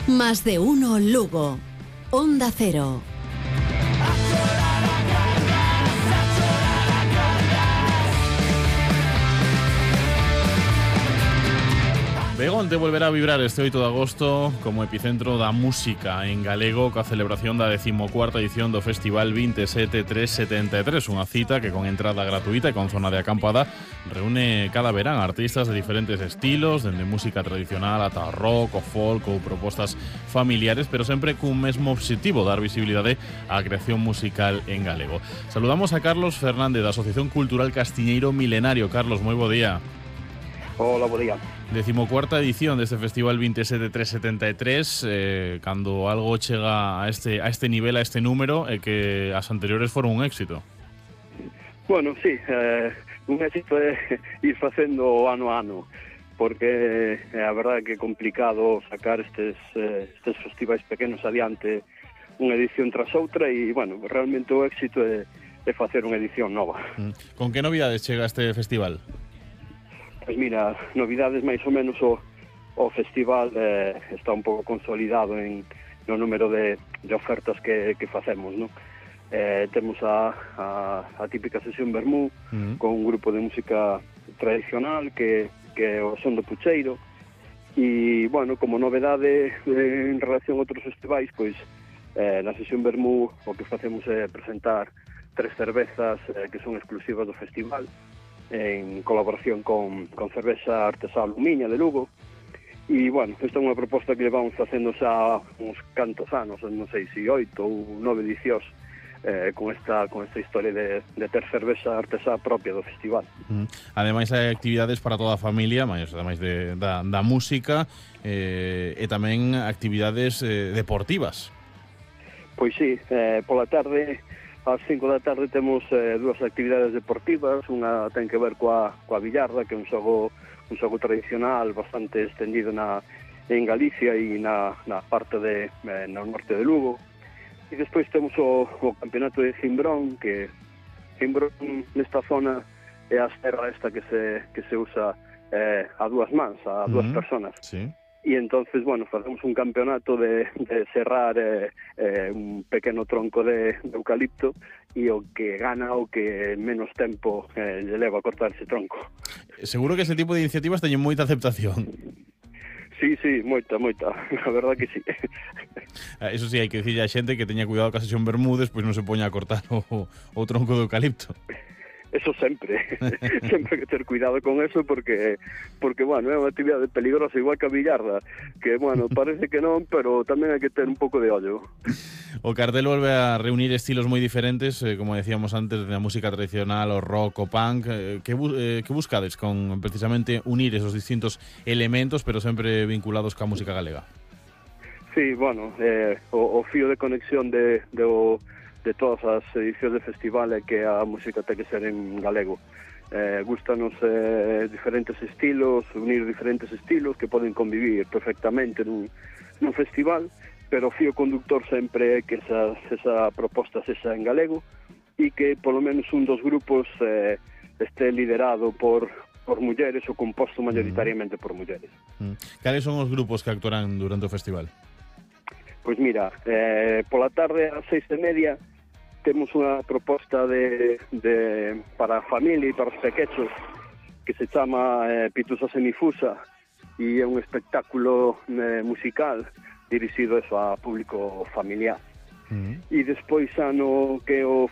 Más de uno Lugo. Onda Cero. Begonte volverá a vibrar este 8 de agosto como epicentro da música en galego coa celebración da 14ª edición do Festival 27373, unha cita que con entrada gratuita e con zona de acampada reúne cada verán artistas de diferentes estilos, dende música tradicional ata rock, o folk ou propostas familiares, pero sempre cun mesmo obxectivo, dar visibilidade á creación musical en galego. Saludamos a Carlos Fernández da Asociación Cultural Castiñeiro Milenario. Carlos, moi bo día. Hola, bo día. 14ª edición deste Festival 27373, cando algo chega a este nivel, a este número, e que as anteriores foron un éxito. Bueno, sí, un éxito é ir facendo ano a ano, porque a verdade que é complicado sacar estes festivais pequenos adiante unha edición tras outra e, bueno, realmente o éxito é facer unha edición nova. Con que novidades chega este festival? Pois mira, novidades máis ou menos o festival está un pouco consolidado no número de ofertas que facemos, non? Temos a típica sesión vermú con un grupo de música tradicional que é o Son do Pucheiro e, bueno, como novedade en relación a outros festivais, pois na sesión vermú o que facemos é presentar 3 cervezas que son exclusivas do festival en colaboración con cervexa artesá Lumiña de Lugo e, bueno, esta é unha proposta que vamos facendo xa uns cantos anos, non sei se 8 ou 9 edicións con esta historia de ter cervexa artesá propia do festival. Ademais hai actividades para toda a familia, ademais da música, e tamén actividades deportivas. Pois sí, pola tarde ás 5 da tarde temos 2 actividades deportivas. Unha ten que ver coa billarda, que é un xogo tradicional bastante estendido en Galicia e na parte no norte de Lugo. E despois temos o campeonato de Cimbrón, que Cimbrón nesta zona é a serra esta que se usa a dúas mans, a dúas personas. Sí. E entonces, bueno, facemos un campeonato de serrar un pequeno tronco de eucalipto e o que gana o que menos tempo lle leva a cortar ese tronco. Seguro que ese tipo de iniciativas teñen moita aceptación. Sí, moita, a verdad que sí. Eso sí, hai que dicirle a xente que teña cuidado ca sesión Bermúdez, pois non se poña a cortar o tronco de eucalipto. Eso sempre hai que ter cuidado con eso porque, bueno, é unha actividade peligrosa igual que a billarda, que, bueno, parece que non, pero tamén hai que ter un pouco de ollo. O cartel volve a reunir estilos moi diferentes, como decíamos antes, da música tradicional, o rock, o punk. Que buscades con precisamente unir esos distintos elementos, pero sempre vinculados ca música galega? Sí, bueno, o fío de conexión de todas as edicións de festival é que a música ten que ser en galego. Gústanos diferentes estilos, unir diferentes estilos que poden convivir perfectamente nun festival, pero o fío conductor sempre é que esa proposta sexa en galego e que polo menos un dos grupos este liderado por mulleres ou composto mayoritariamente por mulleres. Cales son os grupos que actuarán durante o festival? Pois mira, pola tarde ás 6:30 temos unha proposta para a familia e para os pequechos que se chama Pitusa Semifusa e é un espectáculo musical dirixido a público familiar. E despois ano que o